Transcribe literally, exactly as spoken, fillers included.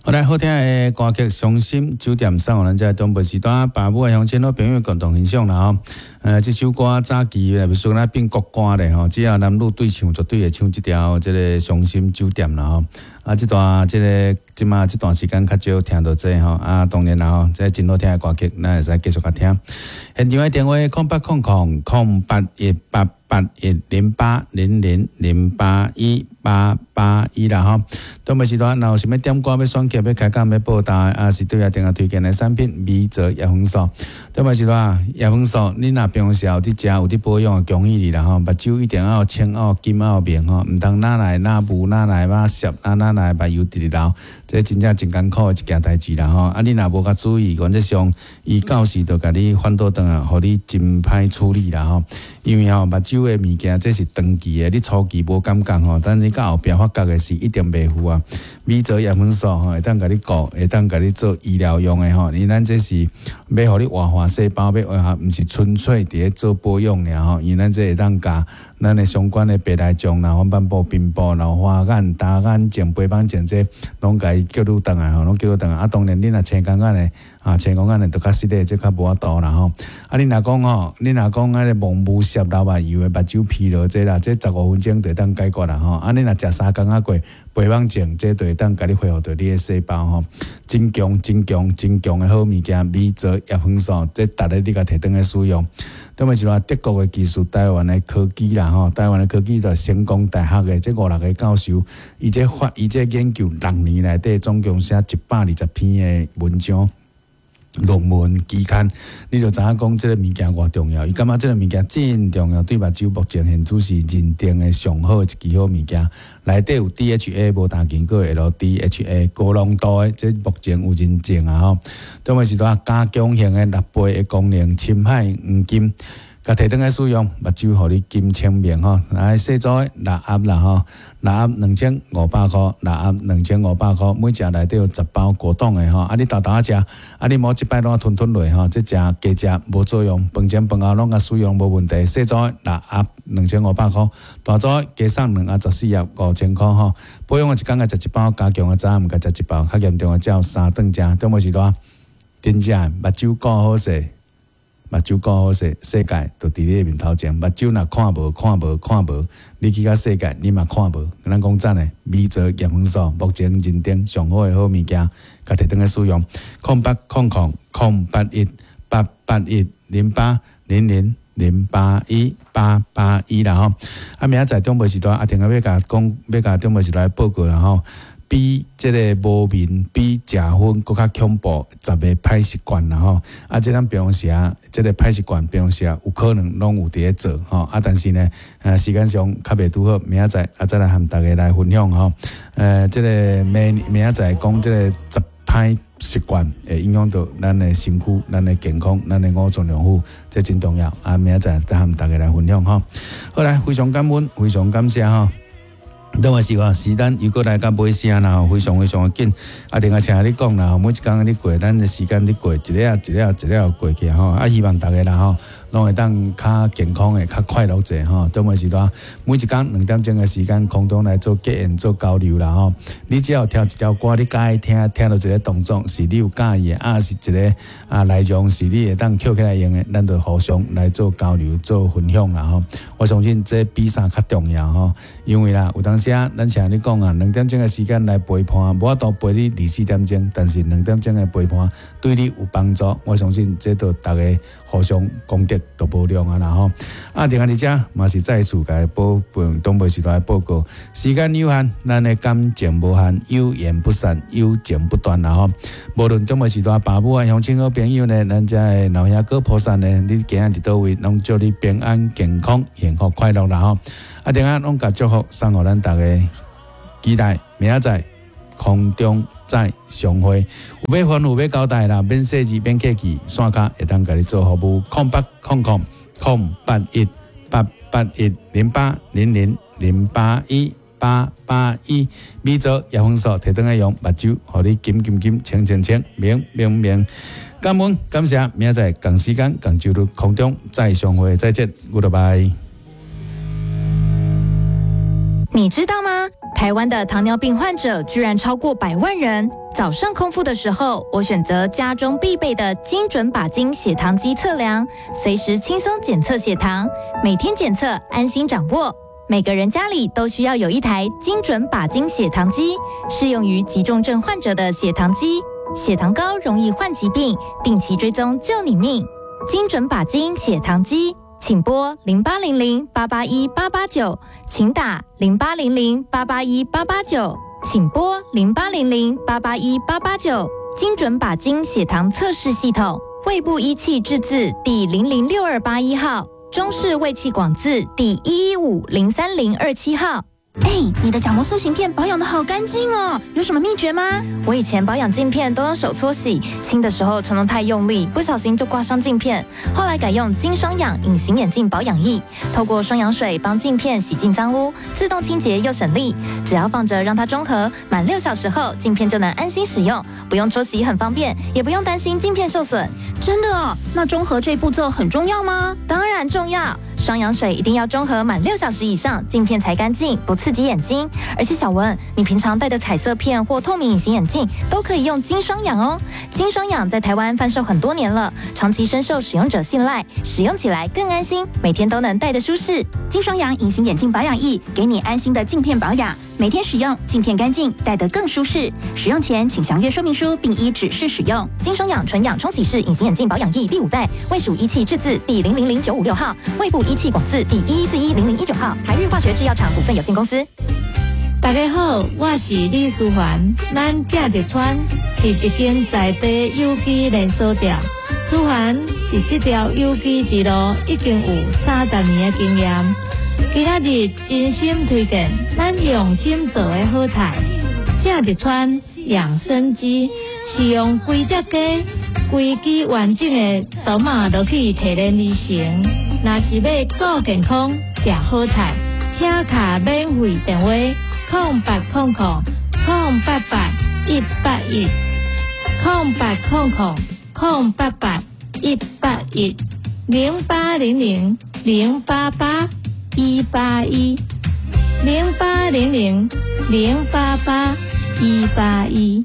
好來，好聽的歌曲《傷心酒店》送予咱遮長輩時段，爸母的鄉親好朋友共同欣賞啦吼。呃，這首歌早期若欲說咱變國歌咧吼，只要男女對唱，絕對會唱這條這個《傷心酒店》啦吼。啊，這段這個這馬這段時間較少聽著這吼。啊，當然啦吼，這真好聽的歌曲，咱會使繼續共聽。現場的電話：空八空空空八一八八一零八零零零八一八八一啦吼。長輩時段，若有啥物點歌欲選曲、欲開講、欲報答，啊是對阿定啊推薦的產品，米澤葉黃素。長輩時段，葉黃素，你若平常時有佇食、有佇保養的，恭喜你啦吼！目睭一定愛清、愛金、愛明吼，毋通哪來哪霧、哪來馬澀，啊哪來目油直直流，這真正真艱苦的一件代誌啦吼！啊，你若無較注意，原則上伊到時就共你反倒轉來，予你真歹處理啦吼。因為吼，目睭的物件這是長期的，你初期無感覺吼，但你到後壁發覺的是一定袂赴啊。米澤葉黃素吼，會當共你顧，會當共你做醫療用的吼。因為咱這是欲予你活化細胞，欲活化，毋是純粹佇咧做保養爾吼。因為咱這會當共咱的相關的白內障啦、黃斑部、貧部、老花眼、乾眼症、白斑症這攏共伊叫你轉來吼，攏叫你轉來。啊，當然你若青光眼的，啊，青光眼的就較實咧，這較無法度啦吼。啊，你若講吼，你若講彼個蒙霧澀流目油的目睭疲勞這啦，這十五分鐘就會當解決啦吼。啊，你若食三工仔過白網症，這就會當共你恢復著你的細胞吼。真強、真強、真強的好物件，米澤葉黃素，這逐日你共提轉來使用。特別是話德國的技術、台灣的科技啦吼，台灣的科技就成功大學的這五六個教授，伊這發伊這研究六年內底總共寫一百二十篇的文章。論文期刊，你就知影講這个物件偌重要。伊感覺這个物件真重要，對目睭目前現此是認定的上好的一支好物件。內底有 D H A 無氮經過 L D H A 高濃度的，這目前有認證啊吼。特別是拄加強型的六倍的功能，深海黃金。共提轉來使用，目睭予你金清明吼，來細組的六盒啦吼，六盒兩千五百箍，六盒兩千五百箍，每隻內底有十包果凍的吼，啊你沓沓仔食，啊你莫一擺攏吞吞落吼，這食加食無作用，飯前飯後攏共使用無問題。細組的六盒兩千五百箍，大組的加送兩盒十四盒五千箍吼。保養的一工共食一包，加強的早暗共食一包，較嚴重的才有三頓食，中無時段，真正目睭顧好勢。目睭顧好勢，世界就佇你的面頭前。目睭若看無、看無、看無，你去到世界，你嘛看無。咱講真的，米澤葉黃素目前認定上好的好物件，共提轉來使用。空八空空空八一八八一零八零零零八一八八一啦吼。啊，明仔載長輩時段，阿婷仔欲共講，欲共長輩時段報告啦吼。比這个無眠、比食薰閣較恐怖十个歹習慣啦吼！啊，這咱平常時啊，這个歹習慣平常時啊，有可能攏有佇咧做吼。啊，但是呢，呃，時間上較袂拄好，明仔載啊，再來和大家來分享吼。呃，這个明明仔載講這个十歹習慣會影響到咱的身軀、咱的健康、咱的五臟六腑，這真重要。啊，明仔載再和大家來分享吼。好來，非常感恩，非常感謝吼。當嘛是話時間又閣來到尾聲啦，非常非常的緊。啊，另外像你講啦，每一工咧過，咱的時間咧過，一粒一粒一粒過去吼。啊，希望大家啦吼，攏會當較健康的、較快樂者吼。當嘛是話每一工兩點鐘的時間，空中來做結緣、做交流啦吼。你只要聽一條歌，你佮意聽，聽著一个動作是你有佮意的，啊是一个啊內容是你會當抾起來用的，咱就互相來做交流、做分享啦吼。我相信這比啥較重要吼，因為啦，有當時咱像你講啊，兩點鐘的時間來陪伴，無法度陪你二十四點鐘，但是兩點鐘的陪伴對你有幫助，我相信這都逐家互相功德都無量啊啦吼。啊，另外佇遮嘛是再次共報報長輩時代的報告，時間有限，咱的感情無限，有緣不散，有情不斷啦吼。無論長輩時代爸母啊、鄉親好朋友呢，咱遮的老兄哥菩薩呢，你今仔佇佗位，攏祝你平安、健康、幸福、快樂啦吼。啊，另外攏共祝福送予咱逐家，期待明仔載空中再相會。有欲吩咐欲交代啦，免細緻，免客氣，線跤會當共你做服務。空八空空空八一八八一零八零零零八一八八一，米澤葉黃素提轉來用，目睭予你金金金清清清明明明。感恩感謝，明仔載仝時間仝晝日空中再相會，再見，Goodbye。你知道嗎？台灣的糖尿病患者居然超過百萬人。早上空腹的時候，我選擇家中必備的精準靶金血糖機測量，隨時輕鬆檢測血糖，每天檢測，安心掌握。每個人家裡都需要有一台精準靶金血糖機，適用於急重症患者的血糖機。血糖高容易患疾病，定期追蹤救你命。精準靶金血糖機，請撥零八零零八八一八八九，請打零八零零八八一八八九，請撥零八零零八八一八八九。精準靶金血糖測試系統，衛部醫器製字第零零六二八一號，中視衛器廣字第一一五零三零二七號。哎，你的角膜塑形片保養得好乾淨哦，有什麼秘訣嗎？我以前保養鏡片都用手搓洗，清的時候常常太用力，不小心就刮傷鏡片。後來改用金雙氧隱形眼鏡保養液，透過雙氧水幫鏡片洗淨髒污，自動清潔又省力。只要放着讓它中和，滿六小時後鏡片就能安心使用，不用搓洗很方便，也不用擔心鏡片受損。真的哦？那中和這步驟很重要嗎？當然重要。雙氧水一定要中和滿六小時以上，鏡片才乾淨，不刺激眼睛。而且小文，你平常戴的彩色片或透明隱形眼鏡都可以用金雙氧哦。金雙氧在台灣販售很多年了，長期深受使用者信賴，使用起來更安心，每天都能戴得舒適。金雙氧隱形眼鏡保養液，給你安心的鏡片保養，每天使用，鏡片乾淨，戴得更舒適。使用前請詳閱說明書，並依指示使用。金雙氧純氧沖洗式隱形眼鏡保養液第五代，衛署醫器製字第零零零九五六號，衛部醫器廣字第一一四一零零一九號，台日化學製藥廠股份有限公司。大家好，我是李淑環。咱食日川是一間在地有機連鎖店。淑環佇這條有機之路已經有三十年的經驗。今仔日真心推薦咱用心做的好菜。食日川養生雞是用規隻雞、規支完整的刀仔落去提煉而成。若是欲顧健康、食好菜，請敲免費電話。空八空空空八八一八一，空八空空空八八一八一，零八零零零八八一八一，零八零零零八八一八一。